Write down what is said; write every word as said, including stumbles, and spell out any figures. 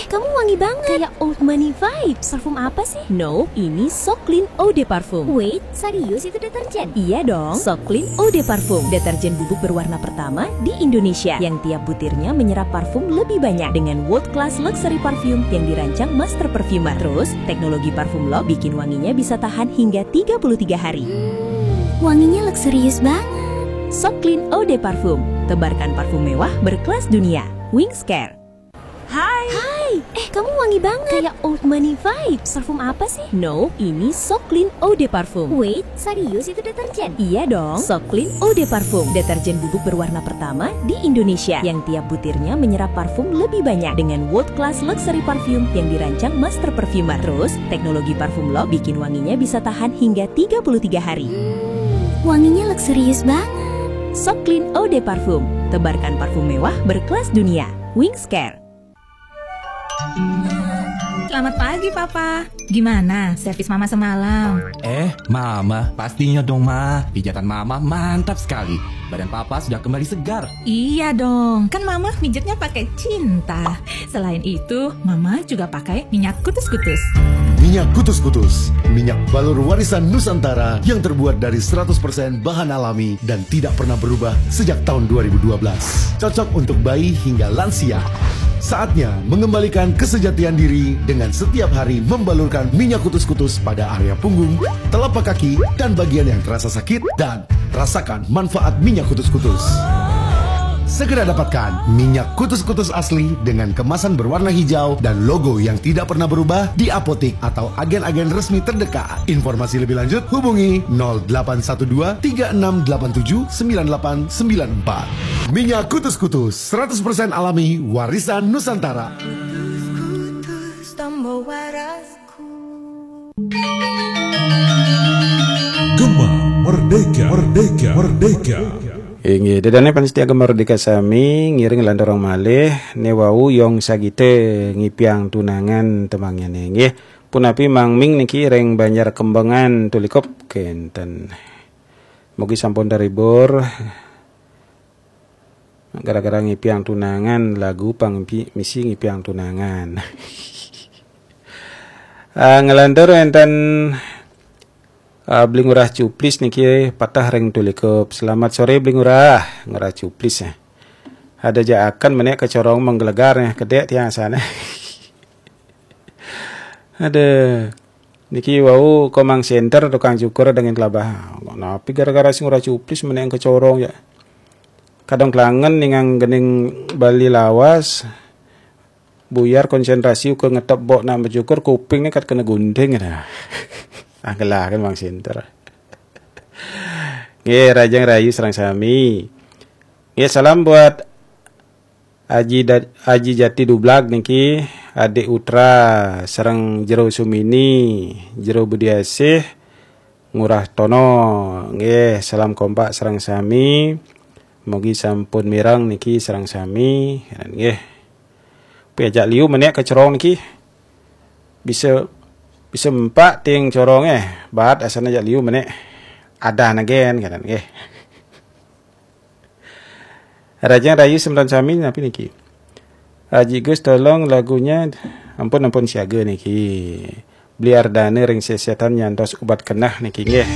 Kamu wangi banget. Kayak old money vibes. Parfum apa sih? No, ini So Clean Eau de Parfum. Wait, serius itu deterjen? Iya dong, So Clean Eau de Parfum. Deterjen bubuk berwarna pertama di Indonesia yang tiap butirnya menyerap parfum lebih banyak dengan world class luxury perfume yang dirancang master perfumer. Terus, teknologi parfum lock bikin wanginya bisa tahan hingga tiga puluh tiga hari. Wanginya luxurious banget. So Clean Eau de Parfum. Tebarkan parfum mewah berkelas dunia. Wings Care. Hai. Hai, eh, kamu wangi banget. Kayak old money vibes. Parfum apa sih? No, ini So Clean Eau de Parfum. Wait, serius itu deterjen? Iya dong, So Clean Eau de Parfum. Deterjen bubuk berwarna pertama di Indonesia yang tiap butirnya menyerap parfum lebih banyak dengan world class luxury perfume yang dirancang master perfumer. Terus, teknologi parfum lock bikin wanginya bisa tahan hingga tiga puluh tiga hari. Wanginya luxurious banget. So Clean Eau de Parfum. Tebarkan parfum mewah berkelas dunia. Wings Care. Selamat pagi, Papa. Gimana servis Mama semalam? Eh, Mama, pastinya dong, Ma. Pijatan Mama mantap sekali. Badan Papa sudah kembali segar. Iya dong, kan Mama mijitnya pakai cinta. Selain itu, Mama juga pakai minyak kutus-kutus. Minyak kutus-kutus, minyak balur warisan Nusantara yang terbuat dari seratus persen bahan alami dan tidak pernah berubah sejak tahun dua ribu dua belas. Cocok untuk bayi hingga lansia. Saatnya mengembalikan kesejatian diri dengan setiap hari membalurkan minyak kutus-kutus pada area punggung, telapak kaki, dan bagian yang terasa sakit dan rasakan manfaat minyak kutus-kutus. Segera dapatkan minyak kutus-kutus asli dengan kemasan berwarna hijau dan logo yang tidak pernah berubah di apotik atau agen-agen resmi terdekat. Informasi lebih lanjut hubungi nol delapan satu dua tiga enam delapan tujuh sembilan delapan sembilan empat. Minyak kutus-kutus seratus persen alami warisan Nusantara. Gema Merdeka, Merdeka, Merdeka. Inggih, ida dané pamiarsa Gema Merdeka sami, ngiring lan dorong malih, né wau Yong Sagité ngipiang tunangan temanggihané, inggih. Punapi Mang Ming niki ring Banjar Kembangan Tulikup kénten. Mugi sampun terhibur. Gara-gara ngipiang tunangan, lagu pang mpi-, misi ngipiang tunangan. Ah, nglantur wénten, ah, Beli Ngurah Cuplis niki patah ring Tulikup. Selamat sore, Beli Ngurah. Ngurah Cuplis, eh. Ada jaaken menék kacorong menggelegar, eh, kedék tiang sané. Ada. Niki wau Komang Center tukang cukur dengin kelabah. Napi gara-gara sing ora cuplis menék kacorong ya. Kadang kelangen ningang gening Bali lawas. Buyar konsentrasi uga ngetep bok nak mencukur kuping nih kat kena gunting dah. Ah, gelah kan Mang Center. Nggih, rajang rayu sareng sami. Nggih, salam buat Aji Da-, Aji Jati Dublag niki, Adik Utra sareng Jero Sumini, Jero Budiasih, Ngurah Tono. Nggih, salam kompak sareng sami. Mugi sampun mireng niki sareng sami. Nggih. Piajak liu menék kacorong niki. Bisa, bisa empak ting corong eh. Baat asana jak liu menék. Adah nagen kan nggih. Rajang rayu semeton sami napi niki? Aji Gus tolong lagunya ampun ampun siaga niki. Beli Ardana ring sesetan nyantos ubat kenah niki nggih.